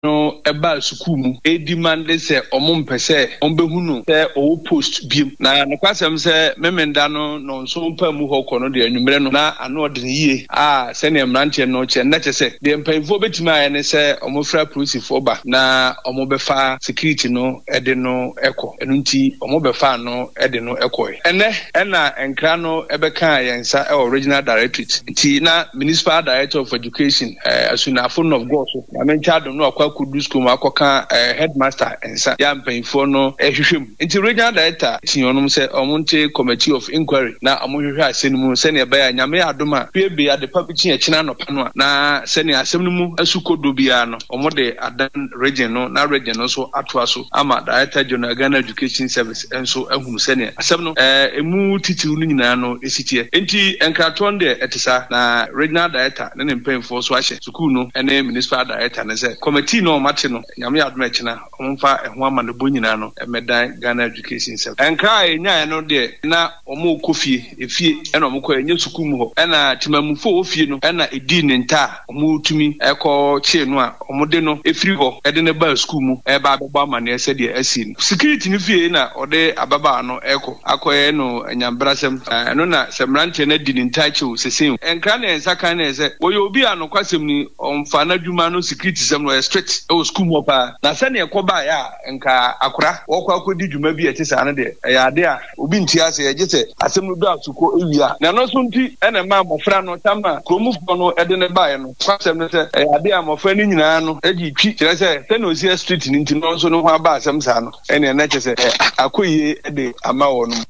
No baa sukuu mu redimande sɛ wɔmpɛ sɛ wɔbɛhu no sɛ ɔwɔ post bio. Na nokwasɛm sɛ Memenda no nnɔnson paa mu hɔ kɔ no deɛ anwummerɛ no na ano ɔden yie a sɛdeɛ mmeranteɛ no kyerɛ no na kyerɛ sɛ deɛ mpanyinfoɔ bɛtumi ayɛ ne sɛ wɔfrɛ apolisifoɔ ba na wɔbɛfa security no de no kɔ. Ɛno nti wɔbɛfaa no de no kɔe. Ɛnnɛ na nkra no bɛkaa yɛn nsa wɔ Regional Directorate nti na Municipal Director of Education Asunafo North Goso Nyame nkyɛ adom na wakɔ akɔdu sukuu mu akɔka headmaster nsa yɛ a mpanyinfoɔ no hwehwɛ mu. Nti regional director tii wɔnom sɛ wɔn nte committee of inquiry na wɔn hwehwɛ asɛm no mu sɛnea ɛbɛyɛ a Nyame yɛ adom a fie bee adepa bi kye ɛkyena anɔpa no a na sɛnea asɛm no mu asu kɔdɔ biara no wɔn de adan region no na region no nso atoa so ama Director General Ghana Education Service nso ahunu sɛnea asɛm no emu titiriw no nyinaa no si teɛ. Enti nkratoɔ no deɛ ɛte saa na regional director ne ne mpanyinfoɔ nso ahyɛ sukuu no ne municipal director no sɛ committee no a wɔate no Nyame yɛ adom a ɛkyena wɔmfa ɛho amanebɔ nyinaa no mmɛdan Ghana Education Service. Nkra a yɛnyaeɛ no deɛ na wɔrekɔ fie, efie na wɔkɔeɛ ɛnyɛ sukuu mu hɔ. Ɛna temamufoɔ a wɔwɔ fie no na ɛdii ne nta a wɔtumi kɔ kyee no a wɔde no firi hɔ de no baa sukuu mu reba abɛbɔ amaneɛ sɛdeɛ asi no. Security no fie na ɔde ababaawa no rekɔ akɔyɛ no anyabrasɛm. Ɛno na sɛ mmeranteɛ no adi ne ntaakye o, sese o. Nkra na yɛn nsa kan no yɛ sɛ wɔyɛ obi a nokwasɛm ni ɔmfa n'adwuma no security sɛm no ɔyɛ strict wɔ sukuu mu hɔ paa. Na sɛdeɛ ɛkɔbaeɛ a nka akora wɔkɔ akɔdi dwuma bi a ɛte saa no deɛ ɛyɛ ade a obi nte aseɛ gye sɛ asɛm no dɔ aso kɔ wie a. Na ɛno nso nti na ɛmaa mmɔfra no tam a kuromfoɔ no de no baeɛ no. Nokwasɛm ne sɛ, ɛyɛ ade a mmɔfra no nyinaa no gye twi, kyerɛ sɛ, sɛnea ɔsi yɛ street no nti no nso no ho aba asɛm saa no, ɛnneɛ na kyerɛ sɛ akɔ yie de ama wɔn.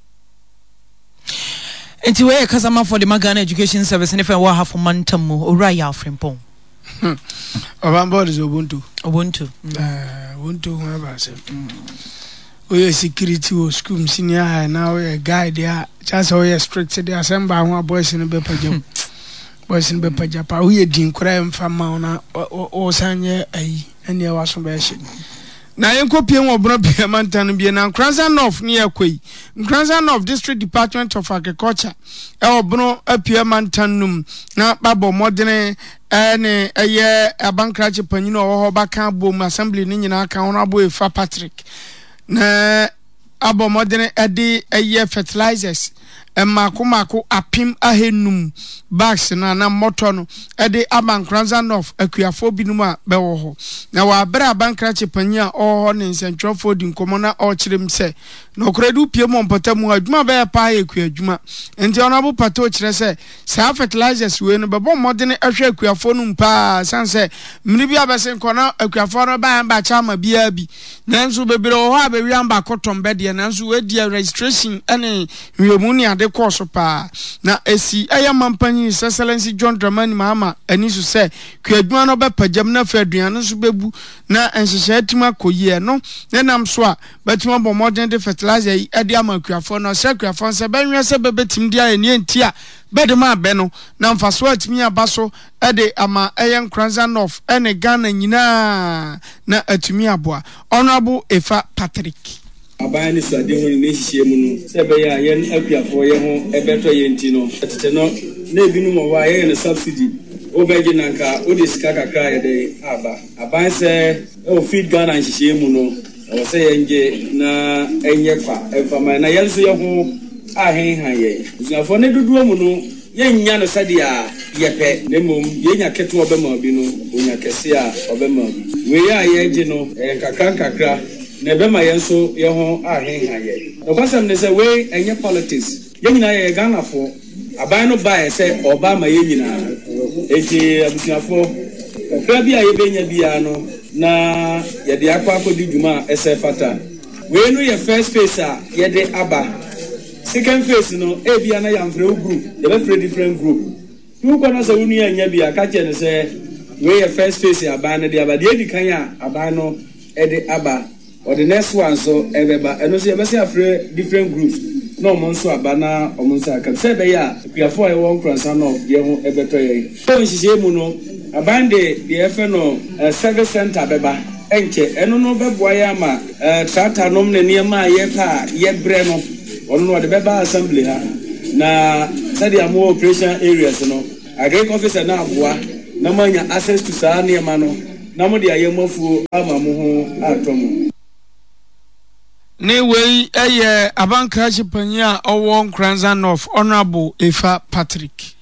Nti wei yɛ kasamafoɔ de ma Ghana Education Service ne fɛn wɔ Ahafo mantam mu, Owura Yaw Frimpong. Ɔbambɔ de sɛ Obonto. Obonto. Eh, Obonto ho aba asɛm. Woyɛ security wɔ school mu senior high na woyɛ guide a, kyerɛ sɛ woyɛ strict de asɛm baa ho a boys no bɛpagya mu. Boys no bɛpagya paa. Woyɛ din koraa ɛmfa mma wo na wosan nyɛ ayi ɛnneɛ w'aso bɛyɛ hye. Na yɛnkɔpie wɔ Bono Pia mantam no bio na Nkoranza North ne yɛkɔ yi. Nkoranza North District Department of Agriculture ɛwɔ Bono Apia mantam no mu na babɔ mmɔdene ɛne ɛyɛ abankrakye panyin a ɔwɔ hɔ baka abom assembly no nyinaa ka Honourable Efa Patrick na abɔ mmɔdene de ɛyɛ fertilizers mmaako mmaako 1500 bags no anaa mmɔtɔ no de ama Nkoranza North akuafoɔ binom a bɛwɔ hɔ. Na wɔ aberɛ a abankrakye panyin a ɔwɔ hɔ ne nsɛntwerɛfoɔ di nkɔmmɔ na ɔrekyerɛ mu sɛ nɔkorɛ de wopie mu wɔ mpɔtam hɔ a adwuma a bɛyɛ paa yɛ kuadwuma nti Honourable Pato kyerɛ sɛ Saa fertilizers wei no bɛbɔ mmɔdene ahwɛ akuafoɔ no mu paa ɛsiane sɛ mmere bi abɛsen kɔ na akuafoɔ no ba ɛmba kyɛ ama biara bi nanso bebree wɔ hɔ a bɛwia amba akɔtɔn bɛ deɛ nanso wei deɛ registration ne nhwɛmu ne ade kɔɔ so paa na ɛsi ɛyɛ mampanyin His Excellency John Dramani Mahama ani so sɛ kuadwuma no bɛpagyam na afei aduane nso bɛbu na nhyehyɛe atumi akɔ yie ɛno ne nam so a bɛtumi abɔ mmɔden de fertilizer yi de ama akuafoɔ na ɔsrɛ akuafoɔ no sɛ bɛnhwɛ sɛ bɛbɛtumi de ayɛ nea nti a bɛde ma bɛ no na mfasoɔ atumi aba so de ama ɛyɛ Nkoranza North ne Ghana nyinaa na atumi aboa. Honourable Efa Patrick. Aban anisoadehu ne ne nhyehyɛe mu no, sɛ ɛbɛyɛ a yɛn akuafoɔ yɛ ho bɛtɔ yɛn nti no, tete no na ebinom wɔ hɔ a yɛyɛ no subsidy, wobɛgye na anka wode sika kakra ayɛ dɛn aba. Aban sɛ wɔ Feed Ghana nhyehyɛe mu no, ɛwɔ sɛ yɛngye na ɛnyɛ kwa mfa ma yɛn, na yɛn nso yɛn ho ahenhan yɛn. Abusuafoɔ, ne dodoɔ mu no, yɛnnya no sɛdeɛ yɛpɛ, na mmom deɛ ɛnya ketewa ɔbɛma obi no, ɔnya kɛseɛ a ɔbɛma obi. Wei a yɛregye no, ɛyɛ nkakrankakra, na ɛbɛma yɛn nso yɛn ho ahenhan yɛn. Nokwasɛm ne sɛ, wei ɛnyɛ politics. Yɛn nyinaa yɛyɛ Ghanafoɔ. Aban no baeɛ sɛ ɔreba ama yɛn nyinaa. Enti abusuafoɔ, kakra bi a yɛbɛnya biara no na yɛde akɔ akɔdi dwuma a ɛsɛ fata. Wei no yɛ first phase a yɛde aba. Second phase no, ebia na yɛamfrɛ wo group, yɛbɛfrɛ different group. Nti wokɔ na sɛ wo nua annya bi a, ka kyerɛ no sɛ wei yɛ first phase a aban no de aba. Deɛ edi kan a aban no de aba. Ɔde next one nso ɛbɛba. Ɛno nso yɛbɛsan afrɛ different groups na wɔn nso aba na wɔn nsa aka bi sɛ ɛbɛyɛ a akuafoɔ a yɛwɔ Nkoransa North yɛn ho bɛtɔ yɛn. Wɔ nhyehyɛe mu no, aban de deɛ yɛfrɛ no service centre bɛba. Ɛnkyɛ, ɛno no bɛboa yɛn ama tractor nom ne nneɛma a yɛpɛ a yɛbrɛ no, ɔno no ɔde bɛba assembly ha. Na sɛdeɛ mowɔ operation areas no, agric officer no aboa na moanya access to saa nneɛma no. na mode ayɛ mo afuo ama mo ho atɔ mo. Ne wei yɛ abankrakye panyin a ɔwɔ Nkoranza North, Honourable Efa Patrick.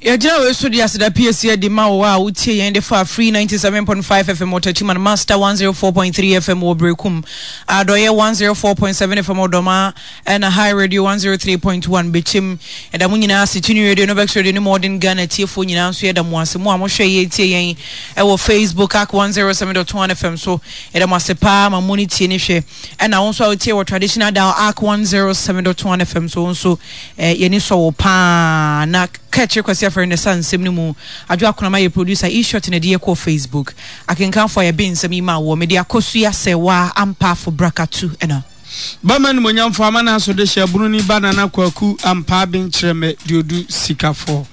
Yɛgyina wei so de aseda piesie adi ma wo a wotie yɛn de fa Free 97.5 FM wɔ Techiman, Master 104.3 FM wɔ Berekum, Adɔeɛ 104.7 FM wɔ Dɔmaa, ɛna High Radio 103.1 Bekyem. Yɛda mo nyinaa ase, Tuni Radio, Novex Radio ne Modern Ghana atiefoɔ nyinaa nso yɛda mo ase. Mo a mohwɛ yɛn tie yɛn ɛwɔ Facebook, AK 107.1 FM so, yɛda mo ase paa ma mo ne tie ne hwɛ. Ɛna wo nso a wotie wɔ Traditional Dial AK 107.1 FM so, wo nso eh, yɛni sɔ wo paa. Na Kɛkyere Kwasi Afɛre na ɛsa nsɛm no mu. Adwo Akonama yɛ producer, E-Shot na ɛde yɛ kɔɔ Facebook. Akenkanfoɔ a yɛbe nsɛm yi maa woɔ, mede Akosua Sɛwaa Ampaafo Brakatu ɛna. Bɛma animuonyamfoɔ ama n'aso de hyɛ Bununi ba Nana Kwaku Ampaa Benkyerɛmɛ Duodu Sikafo.